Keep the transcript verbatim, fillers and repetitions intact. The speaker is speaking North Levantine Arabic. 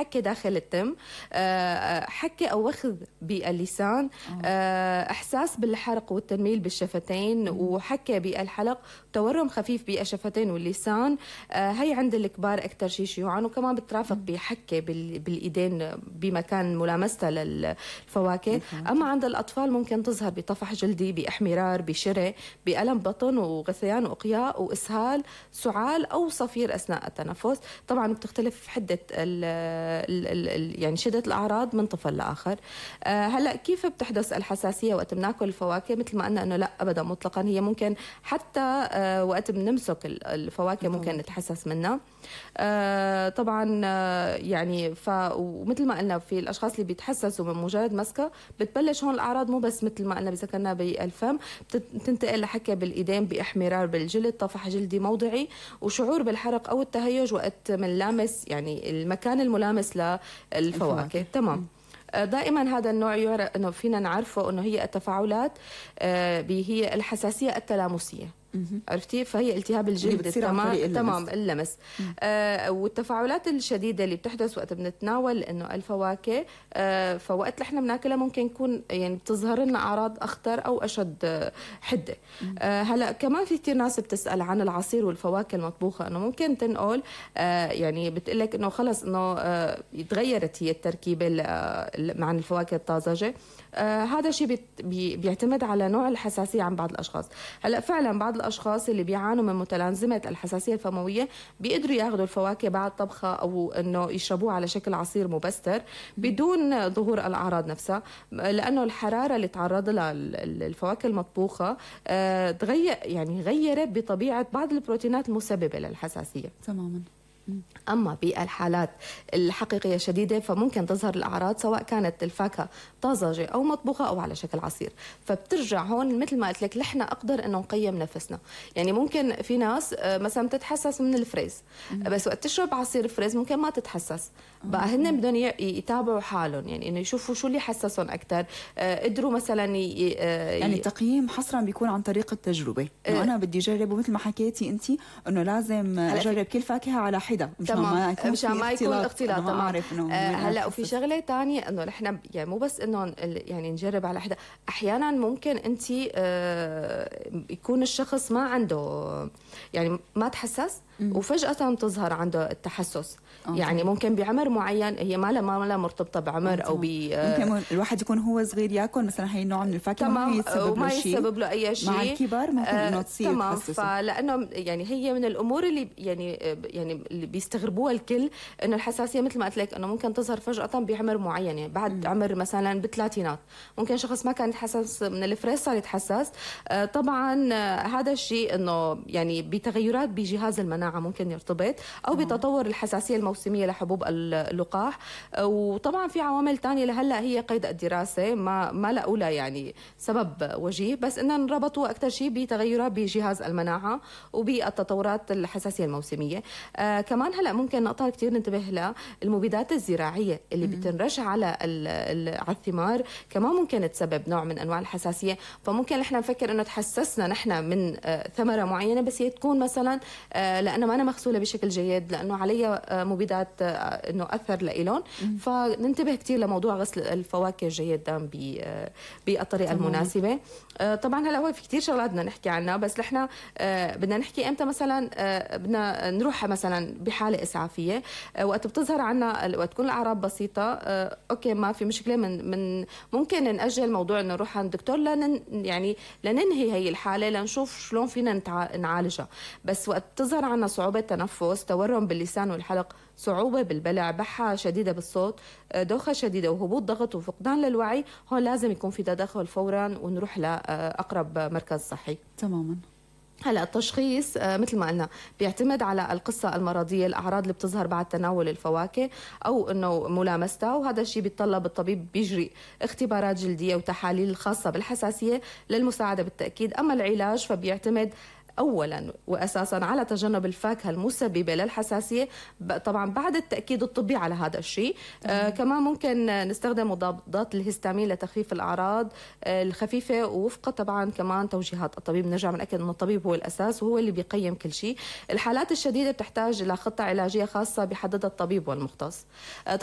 حكة داخل التم، حكة أو وخذ باللسان، إحساس بالحرق والتنميل بالشفتين، وحكة بالحلق، تورم خفيف بالشفتين واللسان. هي عند الكبار أكثر شيء شيوعا، وكمان بترافق بحكة بالإيدين بمكان ملامستها للفواكه. أما عند الأطفال ممكن تظهر بطفح جلدي، بإحمرار، بشري، بألم بطن وغثيان وإقياء وإسهال، سعال أو صفير أثناء التنفس. طبعا بتختلف حدة ال ال ال يعني شدة الأعراض من طفل لآخر. أه هلا كيف بتحدث الحساسية وقت بناكل الفواكه؟ مثل ما قلنا إنه لا أبدا مطلقا، هي ممكن حتى أه وقت بنمسك الفواكه ممكن نتحسس منها. أه طبعا أه يعني ف ومثل ما قلنا في الأشخاص اللي بيتحسسوا من مجرد مسكه بتبلش هون الأعراض، مو بس مثل ما قلنا ذكرنا بالفم، بتنتقل لحكة بالإيدين، بإحمرار بالجلد، طفح جلدي موضعي، وشعور بالحرق أو التهيج وقت من لامس يعني المكان الملامس للفواكه. تمام. دائما هذا النوع يعرف انه فينا نعرفه انه هي التفاعلات هي الحساسيه التلامسيه. عرفتي؟ فهي التهاب الجلد تمام تمام اللمس. آه والتفاعلات الشديده اللي بتحدث وقت بنتناول انه الفواكه، آه فوقت نحن بناكلها ممكن يكون يعني بتظهر لنا اعراض اخطر او اشد آه حده. آه هلا كمان في كثير ناس بتسال عن العصير والفواكه المطبوخه، انه ممكن تنقل آه يعني بتقول لك انه خلص انه آه تغيرت هي التركيبه مع الفواكه الطازجه. آه هذا الشيء بي بيعتمد على نوع الحساسيه عند بعض الاشخاص. هلا فعلا بعض الاشخاص اللي بيعانوا من متلازمه الحساسيه الفمويه بيقدروا ياخذوا الفواكه بعد طبخه او انه يشربوه على شكل عصير مبستر بدون ظهور الاعراض نفسها، لانه الحراره اللي تعرض لها الفواكه المطبوخه آه تغير يعني غيرت بطبيعه بعض البروتينات المسببه للحساسيه. تماما. أما بالحالات الحقيقية الشديدة فممكن تظهر الأعراض سواء كانت الفاكهة طازجة أو مطبوخة أو على شكل عصير. فبترجع هون مثل ما قلت لك نحن أقدر إنه نقيم نفسنا. يعني ممكن في ناس مثلا تتحسس من الفريز، بس وقت تشرب عصير فريز ممكن ما تتحسس. بقى هن بدهم يتابعوا حالهم، يعني إنه يشوفوا شو اللي حسسهم أكثر. قدروا مثلا ي... يعني التقييم حصرا بيكون عن طريق التجربة. إنه أنا بدي أجرب، ومثل ما حكيتي أنت إنه لازم أجرب كل فاكهة على حدة تمام مشان ما يكون اختلاط. تمام. آه هلا وفي شغله ثانيه انه نحن يعني مو بس انه يعني نجرب على حدا، احيانا ممكن انت آه يكون الشخص ما عنده يعني ما تحسس وفجأة تظهر عنده التحسس. أوه. يعني ممكن بعمر معين، هي ما لها ما لها مرتبطة بعمر أو ب ممكن الواحد يكون هو صغير ياكل مثلا هي النوع من الفاكهة ما يتسبب وما يسبب له أي شيء. مع الكبار ممكن آه إنه تصير تمام. فلأنه يعني هي من الأمور اللي يعني يعني اللي بيستغربوها الكل، إنه الحساسية مثل ما قلت لك إنه ممكن تظهر فجأة بعمر معين، يعني بعد م. عمر مثلا بالثلاثينات ممكن شخص ما كان يتحسس من الفريز صار يتحسس. آه طبعا آه هذا الشيء إنه يعني بتغيرات بجهاز المناعة ممكن يرتبط، أو بتطور الحساسية الموسمية لحبوب اللقاح. وطبعا في عوامل تانية لهلا هي قيد الدراسة ما ما لقوا لها يعني سبب وجيه، بس إنهم ربطوا أكثر شيء بتغيرات بجهاز المناعة وبالتطورات الحساسية الموسمية. آه كمان هلا ممكن نقطة كثير ننتبه لها، المبيدات الزراعية اللي بتنرش على على الثمار كمان ممكن تسبب نوع من أنواع الحساسية. فممكن نحن نفكر إنه تحسسنا نحن من آه ثمرة معينة، بس هي تكون مثلا آه لأنه ما أنا مغسولة بشكل جيد، لأنه عليها مبيدات إنه أثر لإلهم. فننتبه كثير لموضوع غسل الفواكه جيدا بالطريقة المناسبة. طبعا هلا هو في كثير شغلات بدنا نحكي عنها، بس نحن بدنا نحكي امتى مثلا بدنا نروح مثلا بحالة إسعافية وقت بتظهر عنا وقت تكون الأعراض بسيطة. أوكي ما في مشكلة، من من ممكن نأجل موضوع إنه نروح عند الدكتور لن يعني لننهي هي الحالة لنشوف شلون فينا نعالجها. بس وقت تظهر عنا صعوبة تنفس، تورم باللسان والحلق، صعوبة بالبلع، بحة شديدة بالصوت، دوخة شديدة وهبوط ضغط وفقدان للوعي، هون لازم يكون في تدخل فورا ونروح لأقرب مركز صحي. تماما. هلا التشخيص مثل ما قلنا بيعتمد على القصة المرضية، الأعراض اللي بتظهر بعد تناول الفواكه أو إنه ملامستها، وهذا الشيء بيتطلب الطبيب بيجري اختبارات جلدية وتحاليل خاصة بالحساسية للمساعدة بالتأكيد. أما العلاج فبيعتمد أولا وأساسا على تجنب الفاكهة المسببة للحساسية، طبعا بعد التأكيد الطبي على هذا الشيء. آه كمان ممكن نستخدم مضادات الهستامين لتخفيف الأعراض آه الخفيفة، ووفق طبعا كمان توجيهات الطبيب. نرجع بنأكد أن الطبيب هو الأساس وهو اللي بيقيم كل شيء. الحالات الشديدة بتحتاج إلى خطة علاجية خاصة بحددها الطبيب والمختص. آه